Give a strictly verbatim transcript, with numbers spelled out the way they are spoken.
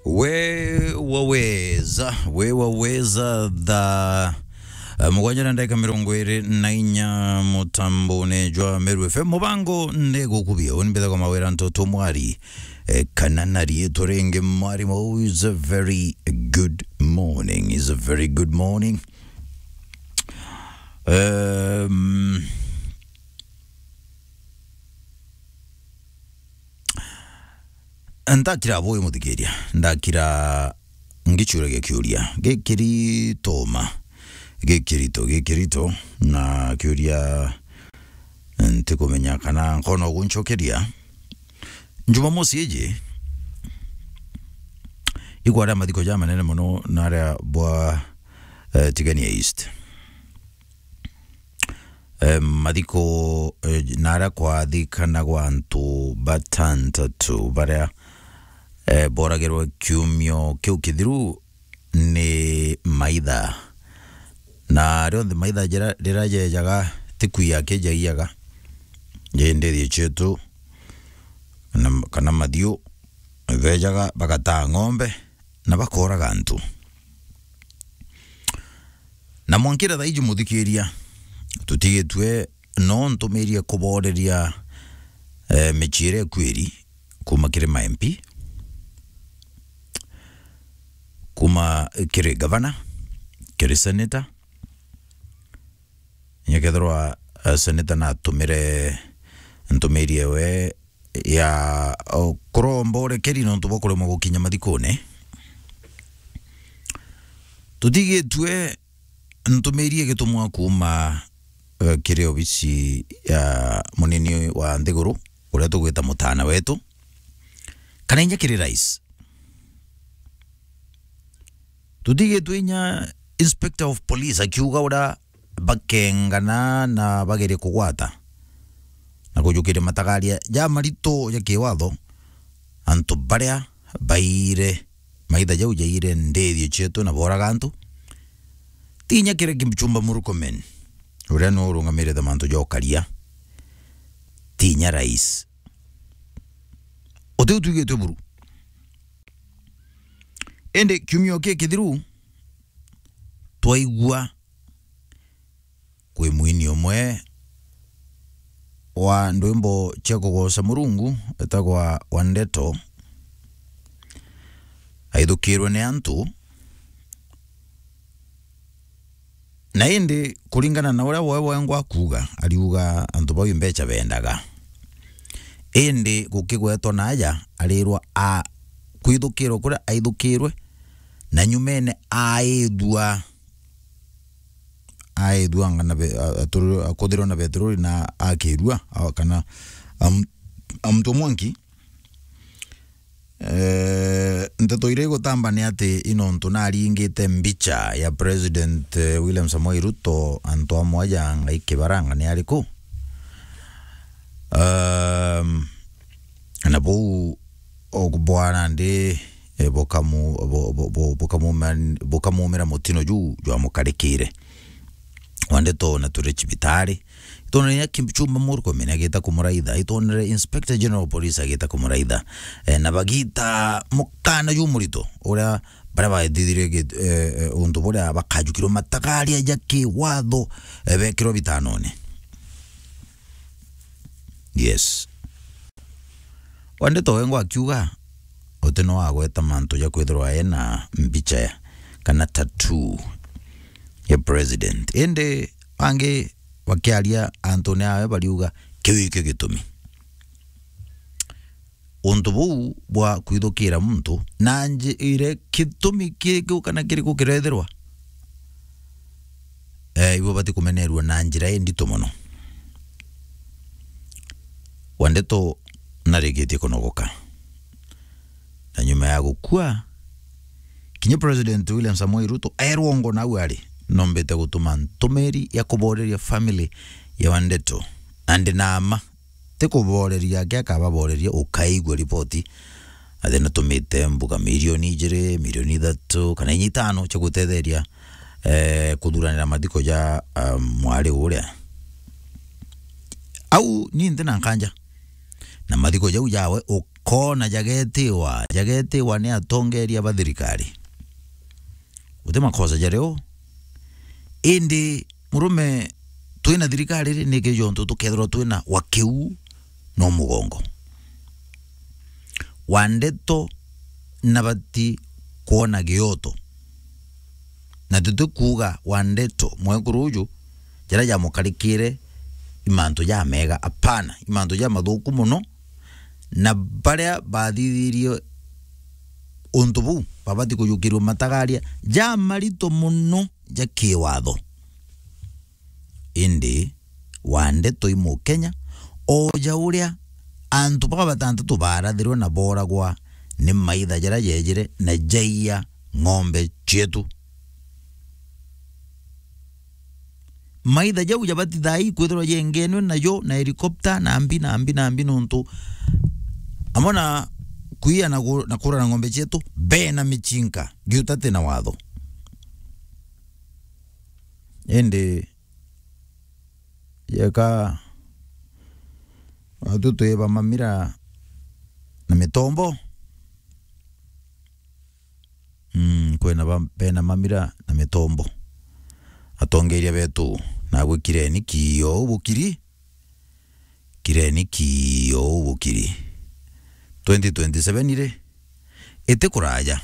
We waweza, we waweza. Thaa, eh, mugwanja na ndagika mirongo iri na inya mutambone jwa Meru F M. Mubango ndigukubia, uni mbithagwa Mawira Ntoto Mwari, eh, kana na riitwa ringi Mwarimu. Is a very good morning, is a very good morning. Um, Ndakira bui muthikiria, ndakira ngicuria gikiuria gikirito ma, gikirito, gikirito, na kiuria ntikumenya kana nkona uguncokeria. Jumamosi iji ikwaria mathiko ja manene mono naria bwa, eh, Tigania East. Eh, mathiko, eh, naria kwathikanagwa antu batantatu baria, eh, boragirwe kiumio kiu kithiru ni maitha. Na rionthe maitha jira, riria jejaga, ti kwia kijaiaga, jindi thii cietu, kana, kana mathiu, bejaga bagataa ng'ombe na bakoraga antu. Na mwankira thaiji muthikiria, tutigitue no ntumirie kuboreria, eh, micii iria ikwiri kuma kiri ma M P, kuma kiri gavana, kiri senator. Nyekethirwa, eh, senator natumire ntumirie we ya, o, kuromba urekeri nontu bwa kuremwa gukinya mathikune. Tutigitue ntumirie gitumwa kuma, eh, kiri obisi ya munini wa nthiguru, uria tugwita mutana wetu, kana inya kiri rais. Tutigitue inya Inspector of Police akiuga uria bakengana na bagerie kugwata na kujukiria matagaria ja marito ja kiwatho antu baria baire maitha jau jaire ndithio cietu na boraga antu. Ti inya kiri Kipchumba Murkomen, uria niwe urungamirite mantu ja ukaria. Ti inya rais. Uti utwigitwe buru. Indi kiumio kii kithiru, twaigua kwi mwini umwe wa ndwimbo cia kugoca Murungu wetagwa Wandeto aithukirwe ni antu. Na indi kuringana na uria we wengwa akuuga, ariuga antu bau mbeca bendaga. Indi gukigwetwa na aja arirwa a kwithukirwa kuria aithukirwe, na nyumene aithua, aithua ngana be-, a-, aturu-, akuthirwa na betururi na akirua, a-, kana am-, amtwe mwanki. Eh, nteto iria igutamba ni ati i nontu naringite mbicha ya President, eh, William Samoei Ruto, antu amwe ja Ngai Kibaranga ni ariku? Um, na buu o bwana ndi, eh, bukamu-, bu-, bu-, bu-, bukamuma-, bukamumira mutino juu jwamukarikire. Wandeto na turi cibitari. Itwonere inya Kipchumba Murkomen agita kumuraitha. Itwonere Inspector General of Police agita kumuraitha. Eh, na bagita mukana jumurito uria baria bathithirie gi-, eh, eh, untu buria bakajukirwe matagaria ja kiwatho, eh, bekirwe bitanone. Yes. Wandeto wengwa akiuga, uti no agweta mantu ja kwithirwa ena mbicha ya, kana tattoo ya president. Indi angi bakiaria antune awe bariuga, kiu ikio gitumi. Untu buu bwa kwithukira muntu na njira, gitumi kiriku kana kiriku kirethirwa, eh, ibo bati kumenerua na njira indito mono. Wandeto narikitie kunogoka. Na nyuma ya gukua, kinya President William Samoei Ruto erwa ngo nau ari, nombite gutuma ntumiri ya kuboreria family ya Wandeto. Na ndi na ma, ti kuboreria ake akababoreria, ukaigua ripoti. Athi natumite mbuga milioni ijiri, milioni ithatu, kana inya itano cia gutetheria, eh, kuthuranira mathiko ja, ah, mwari uria. Au ni nthi na nkanja. Na mathiko jau jawe u-, kona jagetiwa, jagetiwa ni atongeria ba thirikari. Guti makosa jario. Indi murume, twina thirikari ri, niki jontu tukethirwa twina wa kiu no mugongo wa ndeto na bati kwona gioto. Na tutikuuga wa ndeto mwekuru uju jaria jamukarikire i mantu jamega, apana, i mantu jamathuku muno, na baria bathithirie untu buu babati kujukirua matagaria jamarito muno ja kiwatho. Indi wa ndeto i Mukenya, o ja uria antu baba batantatu baarathirwe na booragwa ni maitha jaria jeejire na jaiya ng'ombe cietu. Maitha jau jabati thaa ii kwithirwa jengenwe najo na helikopta na mbi na mbi na mbi, nontu amwe na kuiya na ku-, na kurana ng'ombe cietu bena michinka giuta ti na watho. Indi yeka watu twiba mamira na mitombo. Mm, kwina ba-, bena mamira na mitombo. Atongeria betu, nagwe kireni kiyo bukiri, kireni kiyo bukiri. Twenty twenty-seven ri, iti kuraja.